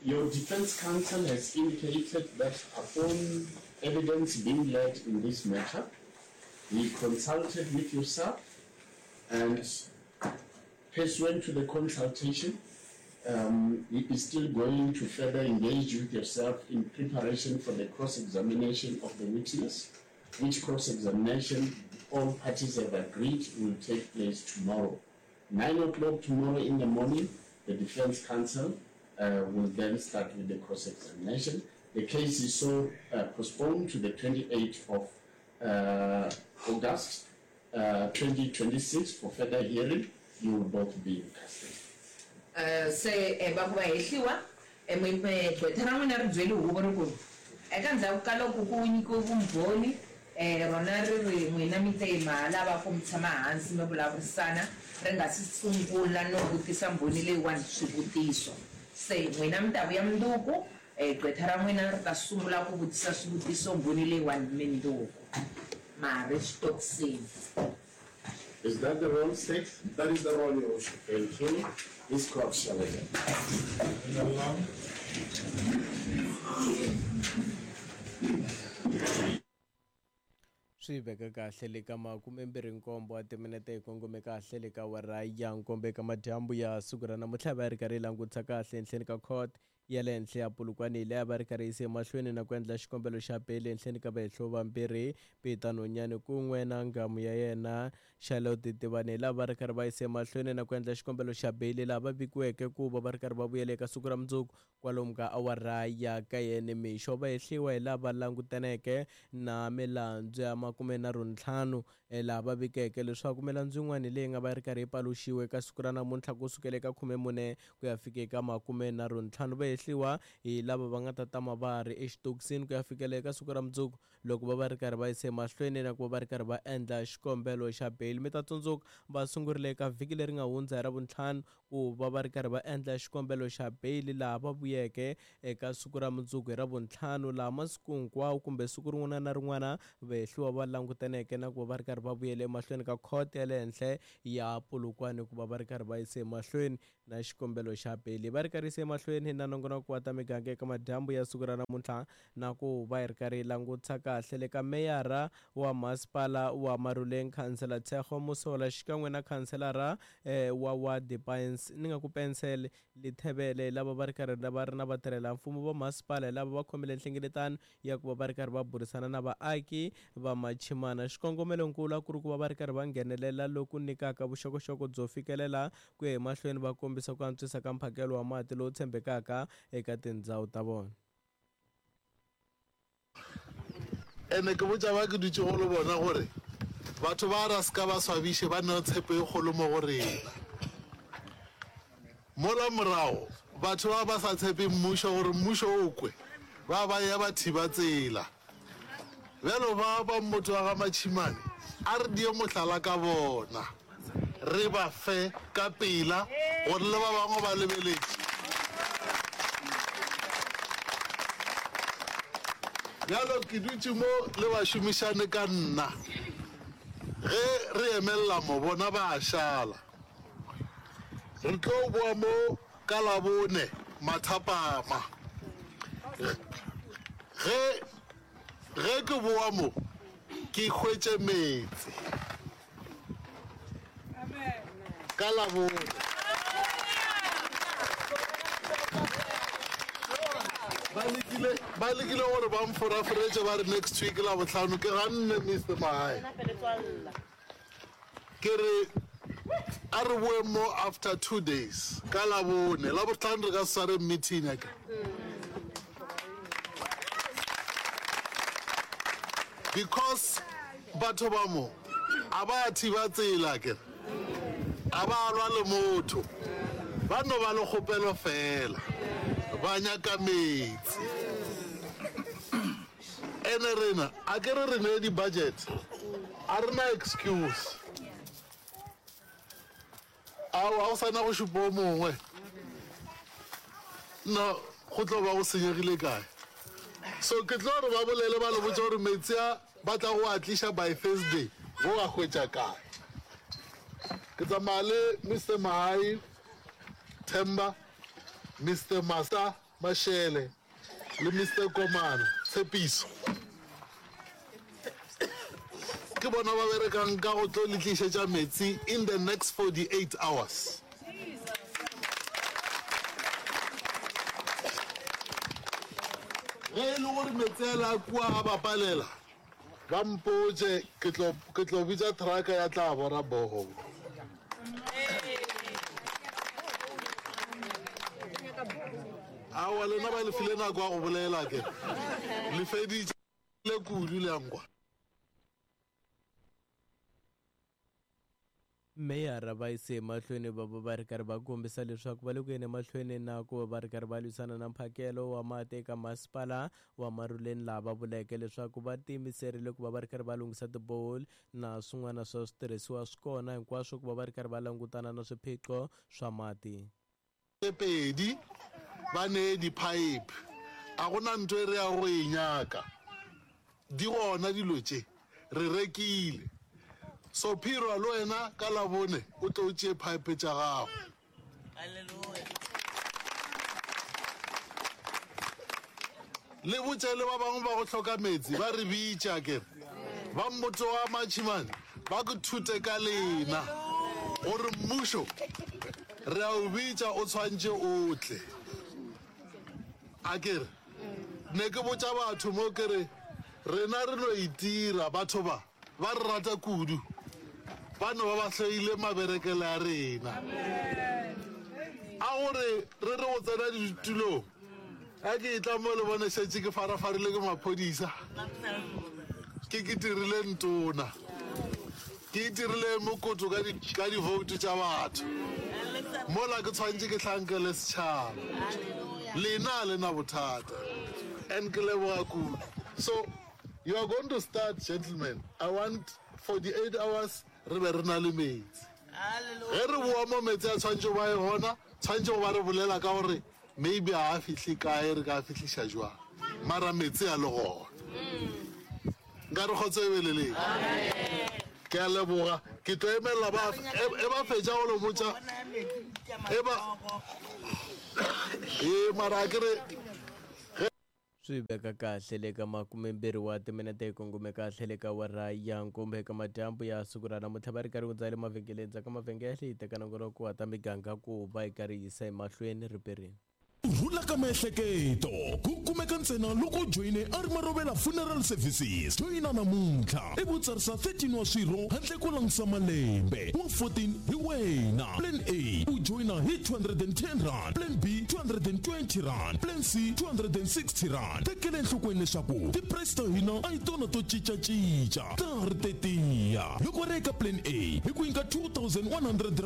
Your defense counsel has indicated that upon evidence being led in this matter, he consulted with yourself and pursuant to the consultation, um, he is still going to further engage with yourself in preparation for the cross-examination of the witness, which cross-examination all parties have agreed will take place tomorrow. 9 o'clock tomorrow in the morning, the defense counsel uh, will then start with the cross-examination. The case is so uh, postponed to the 28th of uh, August uh, 2026 for further hearing. You will both be in custody. Se va ku va hehliwa, gqwetha ra n'wina ri byele huvo ri ku, Eka ndzhaku ka loko ku nyikiwe vumbhoni, rona ri ri n'wina mi te ma ha lava ku mi tshama hansi mi vulavurisana ri nga si sungula no vutisa mbhoni leyiwani swivutiso. Se n'wina mi ta vuya mundzuku, gqwetha ra n'wina ri ta sungula ku vutisa swivutiso mbhoni leyiwani mindzuku. Ma ha ri xitokisini. Is that the roll, State? That is the roll, Your Worship. Thank you. This court shall adjourn. Swi veka kahle le ka makumembirhi-nkombo wa timinete hi kongome kahle le ka awara ya nkombo eka madyambu ya siku ra namuntlha va ri karhi yi langutisa kahle enhleni ka court ya le henhla ya Polokwane leyi a va ri karhi yise emahlweni na ku endla xikombelo xa beyili ehenhleni ka vahehliwa vambirhi, Peter Nonyane kun'we na nghamu ya yena Charlotte Tivani hi laha va ri karhi va yise emahlweni na ku endla xikombelo xa beyili laha va vikiweke ku va va ri karhi va vuyela eka siku ra mundzuku kwalomu ka awara ya kaye nimixo. Vahehliwa hi lava langutaneke na milandzu ya makumenharhuntlhanu laha va vikeke leswaku milandzu yin'wana leyi nga va yi ri karhi yi paluxiwe eka siku ra namuntlha ku sukela eka 14 ku ya fika eka 35 va hehliwa hi lava va nga ta tama va ha ri exitokisini ku ya fikela eka siku ra mundzuku loko va va ri karhi va yise emahlweni na ku va va ri karhi va endla xikombelo xa beyili. Mi ta tsundzuka va sungurile eka vhiki leri nga hundza hi Ravuntlhanu ku va va ri karhi va endla xikombelo xa beyili laha va vuyeke eka siku ra mundzuku hi Ravuntlhanu laha masiku hinkwawo kumbe siku rin'wana na rin'wana vahehliwa va langutaneke na ku va va ri karhi va vuyela emahlweni ka khoto ya le henhla ya Polokwane ku va va ri karhi va yise emahlweni na xikombelo xa beyili. Va ri karhi yise emahlweni na nongonoko wa ta miganga eka madyambu ya siku ra namuntlha na ku va hi ri karhi hi langutisa kahle le ka meyara wa masipala wa Maruleng Khansela Tshego Mosola xikan'we na khanselara wa wadi Pines ni nga ku Pensel Lithebele lava va ri karhi va ri na vatirhela-mfumo va masipala hi lava va khomile nhlengeletano ya ku va va ri karhi va burisana na vaaki va Machimana. Xikongomelonkulu a ku ri ku va va ri karhi va nghenelela loku nyikaka vuxokoxoko byo fikelela ku ya emahlweni va kombisa ku antswisa ka mphakelo wa mati lowu tshembekaka eka tindhawu ta vona. Ene ke botša ba ke dutšego le bona gore batho ba ra se ka ba swabiše ba neo tshepo e kgolo mo go rena. Mola morago batho ba ba sa tshepe mmušo gore mmušo o kwe, ba ba eya ba thiba tsela. Bjalo ba ba mmoto wa ga Matšhimane a re die mohlala ka bona, re ba fe ka pela gore le ba bangwe ba lebeletše. Bjalo ke dutše mo le bašomišane ka nna, ge re emelela mo bona ba a šala. Re tlo boa mo ka Labone mathapama. Ge, ge ke boa mo, ke hwetše meetse. Ka Labone. Ba lekile, ba lekile gore ba mforaforetše ba re next week Labohlano. Ke ganne, Mister Magae. Ke re a re boeng mo after 2 days ka Labone. Labohlano re ka se sware meeting akere? Because batho ba mo a ba thiba tsela akere, a ba lwa le motho, ba no ba le kgopelo fela, ba nyaka meetse. Ene rena a ke re re nee di budget, a re na excuse. Ao, ga go sa na go šupa o mongwe. No, go tlo ba go senyegile kae? So ke tlo re ba bolele ba le botša gore metsi a ba tla go a tliša by Thursday, bo a hwetša kae? Ke tsamaya le Mister Mahai, Themba, Mister Masa. Mashele le Mister Komana, Tshepiso. Ke bona ba berekang ka go tlo le tlišetša metsi in the next 48 hours. Ge e le gore metsi a le a kua a ba palela, ba mpotše, ke tlo, ke tlo bitša thraka ya tla bora borehole. Aowa, lena ba le file nako ya go bolela ke le feditše kudu le a nkwa. Meyara va yise emahlweni va va va ri karhi va kombisa leswaku va le ku yeni emahlweni na ku va va ri karhi va lwisana na mphakelo wa mati eka masipala wa Maruleni laha va vuleke leswaku va tiyimiserile ku va va ri karhi va lunghisa tiboholi na swin'wana swa switirhisiwa swi kona hinkwaswo ku va va ri karhi va langutana na swiphiqo swa mati. Tše pedi ba nee diphaephe. A go na ntho e re yago go e nyaka. Di gona dilo tše. Re rekile. So Phirwa le wena ka Labone o tle o tšee phaephe tša gago. Le botše le ba bangwe ba go hloka meetse ba re bitše, akere ba mmoto wa Matšhimane ba ke thute ka lena gore mmušo re a o bitša o tshwantše o tle. Akere ne ke botša batho mo ke re rena re no itira, batho ba Ba re rata kudu. Ba no ba ba hloile maberekele a rena. A gore re re go tsena ditulong, a ke etla mo le bone šetše ke farafarile ke maphodisa. Ke ke dirile ntona. Ke itirile mokoto ka di, ka divoutu tša batho. Mola ke tshwanetše ke hlankele setšhaba. Lena a le na bothata. And ke leboga kudu. So, You are going to start gentlemen, I want 48 hours re be re na le meetse. Ge re boa mo meetse a tshwanetše go ba e gona, tshwanetše go ba re bolela ka gore maybe ga a fihle kae, re ka a fihliša jwang, mara meetse a le gona. Nka re kgotso e be le leng. Ke a leboga, ke tlo emelela ba e ba fetša go le botša e ba ee mara a ke re ge Swi veka kahle le ka makumembirhi wa timinete yi kongome kahle le ka awara ya nkombo eka madyambu ya siku ra namuntlha va ri karhi hundza le mavhengeleni ndzhaku ka mavhengele yi teka nongonoko wa ta miganga ku va yi karhi yi yisa emahlweni riperini. Ku rhula ka miehleketo ku kumeka ntsena loko u joyine A Ri Marovela Funeral Services. Joyina namuntlha ivi u tsarisa 13 wa swirho handle ko langusa malembe. Wa 14 hi wena. Plan A, u joyina hi R210. Plan B, R220. Plan C, R260. Tekela enhlokweni leswaku ti-price ta hina a hi tona to cinca-cinca, ta ha ri tetiya. Loko ri eka Plan A, hi ku nyika R2100.